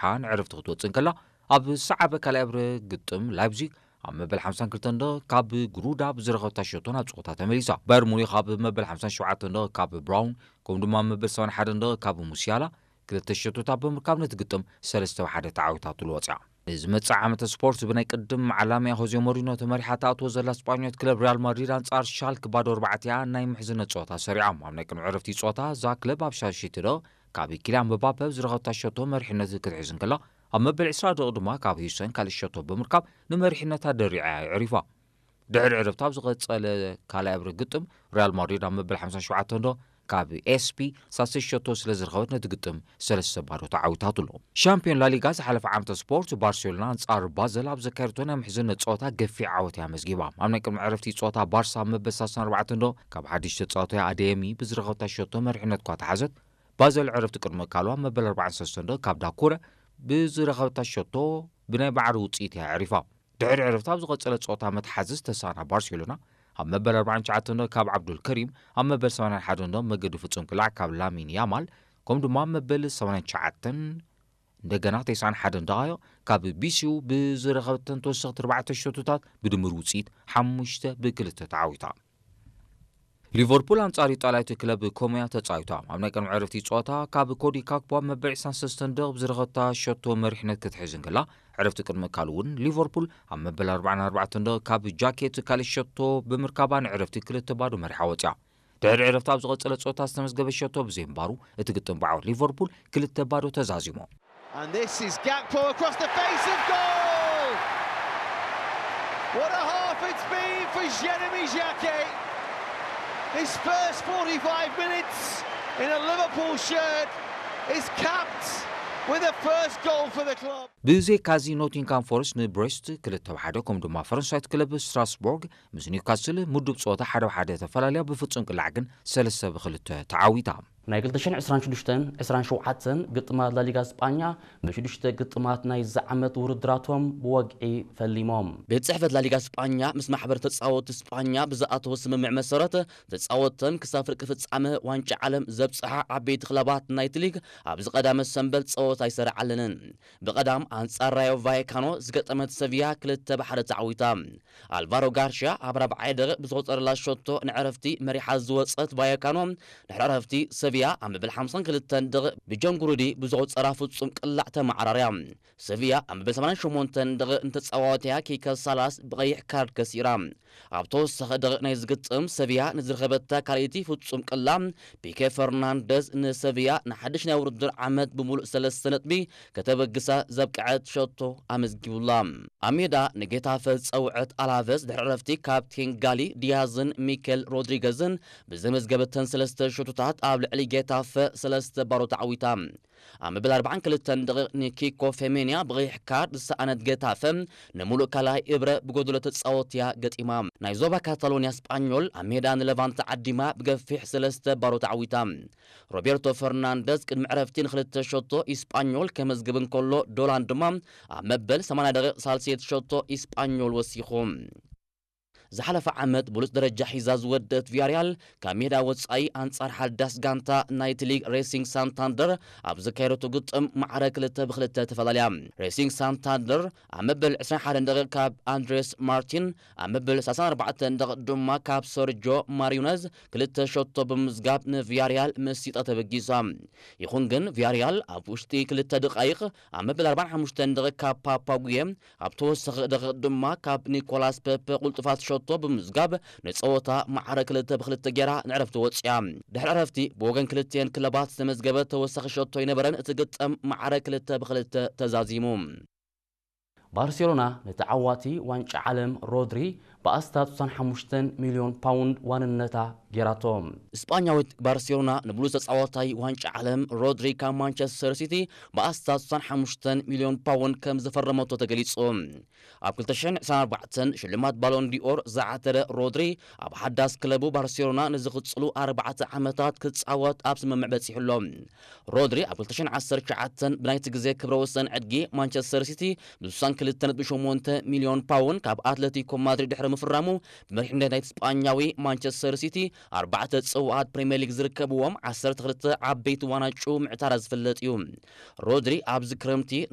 ሓን ዕረፍቲ ክትወጽእ እንከላ፣ ኣብ ዝሰዓበ ካልኣይ እብረ ግጥም ላይፕዚግ ኣብ መበል ሓምሳን ክልተን ደቂቕ ካብ ግሩዳ ብዝረኸበታ ሸቶ ናብ ጸወታ ተመሊሳ። ባየር ሙኒኽ ኣብ መበል ሓምሳን ሸውዓተን ደቂቕ ካብ ብራውን፣ ከምኡ ድማ ኣብ መበል ሰማንያን ሓደን ደቂቕ ካብ ሙሲያላ ክልተ ሸቶታት ብምርካብ ነቲ ግጥም ሰለስተ ብ ሓደ ተዓዊታትሉ ወጽያ። ንዝመጽእ ዓመተ ስፖርት ብናይ ቅድም ዓላምያ ሆዜ ሞሪኖ ተመሪሓ ትኣትዎ ዘላ ስጳኛዊት ክለብ ሪያል ማድሪድ ኣንጻር ሻልክ ባዶ ኣርባዕተ እያ ናይ ምሕዝነት ጸወታ ሰሪዖም። ኣብ ናይ ቅድሚ ዕረፍቲ ጸወታ እዛ ክለብ ኣብ ሻሽይቲ ደቂቕ ካብ ኪልያን ምባፔ ብዝረኸበታ ሸቶ መሪሕነት ክትሕዝ እንከላ፣ ኣብ መበል ዕስራ ደቂቕ ድማ ካብ ሂውሰን ካልእ ሸቶ ብምርካብ ንመሪሕነታ ደሪዓ እያ ኣዕሪፋ። ድሕሪ ዕረፍቲ ኣብ ዝቐጸለ ካልኣይ እብረ ግጥም፣ ሪያል ማድሪድ ኣብ መበል ሓምሳን ሸውዓተን ደቂቕ ካብ ኤስፒ ሳልሳይ ሸቶ ስለ ዝረኸበት ነቲ ግጥም ሰለስተ ባዶ ተዓዊታትሉ። ሻምፒዮን ላሊጋ ዝሓለፈ ዓመተ ስፖርት ባርሴሎና ኣንጻር ባዘል ኣብ ዘካየደቶ ናይ ምሕዝነት ጸወታ ገፊሕ ዓወት እያ ኣመዝጊባ። ኣብ ናይ ቅድሚ ዕረፍቲ ጸወታ ባርሳ ኣብ መበል ሰላሳን ኣርባዕተን ደቂቕ ካብ ሓድሽ ተጻዋታይ ኣደየሚ ብዝረኸበታ ሸቶ መሪሕነት እኳ ተሓዘት፣ ባዘል ዕረፍቲ ቅድሚ ምእካሉ ኣብ መበል ኣርባዓን ሰለስተን ደቂቕ ካብ ዳኩረ ብዝረኸበታ ሸቶ ብናይ ባዕሪ ውጽኢት እያ ኣዕሪፋ። ድሕሪ ዕረፍቲ ኣብ ዝቐጸለ ጸወታ መትሓዚ ዝተሳእና ባርሴሎና፣ ኣብ መበል ኣርባዓን ትሽዓተን ደቂቕ ካብ ዓብዱል ከሪም፣ ኣብ መበል ሰማንያን ሓደን ደቂቕ መገዲ ፍጹም ቅላዕ ካብ ላሚን ያማል፣ ከምኡ ድማ ኣብ መበል ሰማንያን ትሽዓተን፣ እንደገና ተስዓን ሓደን ደቓይቕ ካብ ቢሲዩ ብዝረኸበተን ተወሰኽቲ ኣርባዕተ ሸቶታት ብድምር ውጽኢት ሓሙሽተ ብ ክልተ ተዓዊታ። ሊቨርፑል ኣንጻር ኢጣልያዊት ክለብ ኮሞያ ተጻዊታ። ኣብ ናይ ቅድሚ ዕረፍቲ ጸወታ ካብ ኮዲ ካክፖ ኣብ መበል ዕስራን ሰለስተን ደቂቕ ብዝረኸበታ ሸቶ መሪሕነት ክትሕዝ እንከላ፣ ዕረፍቲ ቅድሚ ምእካሉ እውን ሊቨርፑል ኣብ መበል ኣርባዓን ኣርባዕተን ደቂቕ ካብ ጃኬት ካልእ ሸቶ ብምርካባ ንዕረፍቲ ክልተ ባዶ መሪሓ ወጽያ። ድሕሪ ዕረፍቲ ኣብ ዝቐጸለ ጸወታ ዝተመዝገበ ሸቶ ብዘይምንባሩ እቲ ግጥም ብዓወት ሊቨርፑል ክልተ ባዶ ተዛዚሙ። And this is Gakpo across the face of goal! What a half it's been for Jeremy Jacquet! His first forty-five minutes in a Liverpool shirt is capped with a first goal for the club. ብዘይካዚ ኖቲንግሃም ፎረስት ንብሬስት ክልተ ብ ሓደ፣ ከምኡ ድማ ፈረንሳዊት ክለብ ስትራስቦርግ ምስ ኒውካስል ምዱብ ጸወታ ሓደ ብ ሓደ ተፈላለያ ብፍጹም ቅላዕ ግን ሰለስተ ብ ክልተ ተዓዊታ። ናይ ክልተ ሽሕን ዕስራን ሽዱሽተን ዕስራን ሸውዓተን ግጥማት ላሊጋ ስጳኛ ብሽዱሽተ ግጥማት ናይዚ ዓመት ውድድራቶም ብወግዒ ፈሊሞም። ቤት ጽሕፈት ላሊጋ ስጳኛ ምስ ማሕበር ተጻወትቲ ስጳኛ ብዝኣተዎ ስምምዕ መሰረት፣ ተጻወትተን ክሳብ ፍርቂ ፍጻመ ዋንጫ ዓለም ዘብጽሓ ዓበይቲ ክለባት ናይቲ ሊግ ኣብዚ ቀዳመ ሰንበል ጸወታ ኣይሰራዓለንን። ብቐዳም ኣንጻር ራዮ ቫየካኖ ዝገጠመት ሰቪያ ክልተ ብ ሓደ ተዓዊታ። ኣልቫሮ ጋርሽያ ኣብ ራብዓይ ደቂቕ ብዝቆጸረላ ሸቶ ንዕረፍቲ መሪሓ ዝወጸት ቫየካኖ፣ ድሕሪ ዕረፍቲ ሰቪያ ኣብ መበል ሓምሳን ክልተን ደቂቕ ብጆን ጉሩዲ ብዝቆጸራ ፍጹም ቅላዕ ተመዓራርያ። ሰቪያ ኣብ መበል ሰማንያን ሸሞንተን ደቂቕ ንተጻዋትያ ኪከ ሳላስ ብቐይሕ ካርድ ከሲራ። ኣብ ተወሳኺ ደቂቕ ናይ ዝግጥም ሰቪያ ንዝረኸበታ ካልኣይቲ ፍጹም ቅላዕ፣ ፒኬ ፈርናንደዝ ንሰቪያ ንሓድሽ ናይ ውድድር ዓመት ብምሉእ ሰለስተ ነጥቢ ከተበግሳ ዘብቅዐት ሸቶ ኣመዝጊቡላ። ኣብ ሜዳ ንጌታፈ ዝጸውዐት ኣላቨስ ድሕሪ ዕረፍቲ ካፕቴን ጋሊ ዲያዝን ሚኬል ሮድሪገዝን ብዘመዝገበተን ሰለስተ ሸቶታት ኣብ ልዕሊ ጌታፈ ሰለስተ ባዶ ተዓዊታ። ኣብ መበል ኣርባዓን ክልተን ደቂቕ ንኪኮ ፌሜንያ ብቐይሕ ካርድ ዝሰኣነት ጌታፈ፣ ንምሉእ ካልኣይ እብረ ብጎደሎ ተጻወትያ ገጢማ። ናይ ዞባ ካታሎንያ ስጳኞል ኣብ ሜዳ ንለቫንተ ዓዲማ ብገፊሕ ሰለስተ ባዶ ተዓዊታ። ሮቤርቶ ፈርናንደዝ ቅድሚ ዕረፍቲ ንክልተ ሸቶ ኢስጳኞል ከመዝግብ እንከሎ፣ ዶላን ድማ ኣብ መበል ሰማንያ ደቂቕ ሳልሰይቲ ሸቶ ኢስጳኞል ወሲኹ። ዝሓለፈ ዓመት ብሉጽ ደረጃ ሒዛ ዝወደት ቪያርያል ካብ ሜዳ ወጻኢ ኣንጻር ሓዳስ ጋንታ ናይቲ ሊግ ሬሲንግ ሳንታንደር ኣብ ዘካየደቶ ግጥም ማዕረ ክልተ ብ ክልተ ተፈላለያ። ሬሲንግ ሳንታንደር ኣብ መበል ዕስራን ሓደን ደቂቕ ካብ ኣንድሬስ ማርቲን፣ ኣብ መበል ሰላሳን ኣርባዕተን ደቂቕ ድማ ካብ ሰርጆ ማሪነዝ ክልተ ሸቶ ብምዝጋብ ንቪያርያል መሲጣ ተበጊሳ። ይኹን ግን ቪያርያል ኣብ ውሽጢ ክልተ ደቓይቕ ኣብ መበል ኣርባዓን ሓሙሽተን ደቂቕ ካብ ፓፓጉየ ኣብ ተወሳኺ ደቂቕ ድማ ካብ ኒኮላስ ፔፔ ቁልጡፋት ሸቶ ብምዝጋብ ንጸወታ ማዕረ ክልተ ብ ክልተ ጌራ ንዕረፍቲ ወጽያ። ድሕሪ ዕረፍቲ ብወገን ክልቲኤን ክለባት ዝተመዝገበ ተወሳኺ ሸቶ ኣይነበረን፣ እቲ ግጥም ማዕረ ክልተ ብ ክልተ ተዛዚሙ። ባርሴሎና ንተዓዋቲ ዋንጫ ዓለም ሮድሪ ብኣስታት ስሳን ሓሙሽተን ሚልዮን ፓውንድ ዋንነታ ጌራቶ። ስጳኛዊት ባርሴሎና ንብሉጽ ተጻዋታይ ዋንጫ ዓለም ሮድሪ ካብ ማንቸስተር ሲቲ ብኣስታት ስሳን ሓሙሽተን ሚልዮን ፓውንድ ከም ዝፈረመቶ ተገሊጹ። ኣብ ክልተ ሽሕን ዕስራን ኣርባዕተን ሽልማት ባሎን ዲኦር ዝዓተረ ሮድሪ፣ ኣብ ሓዳስ ክለቡ ባርሴሎና ንዝቕጽሉ ኣርባዕተ ዓመታት ክጻወት ኣብ ስምምዕ በጺሑ ኣሎ። ሮድሪ ኣብ ክልተ ሽሕን ዓሰርተ ትሽዓተን ብናይቲ ግዜ ክብረ ወሰን ዕድጊ ማንቸስተር ሲቲ ብ ስሳን ክልተ ነጥቢ ሸሞንተ ሚልዮን ፓውንድ ካብ ኣትለቲኮ ማድሪድ ድሕሪ ምፍራሙ፣ ብመሪሕነት ናይቲ ስጳኛዊ ማንቸስተር ሲቲ ኣርባዕተ ጽዋኣት ፕሪምየር ሊግ ዝርከብዎም ዓሰርተ ክልተ ዓበይቲ ዋናጩ ምዕታራ ዝፍለጥ እዩ። ሮድሪ ኣብዚ ክረምቲ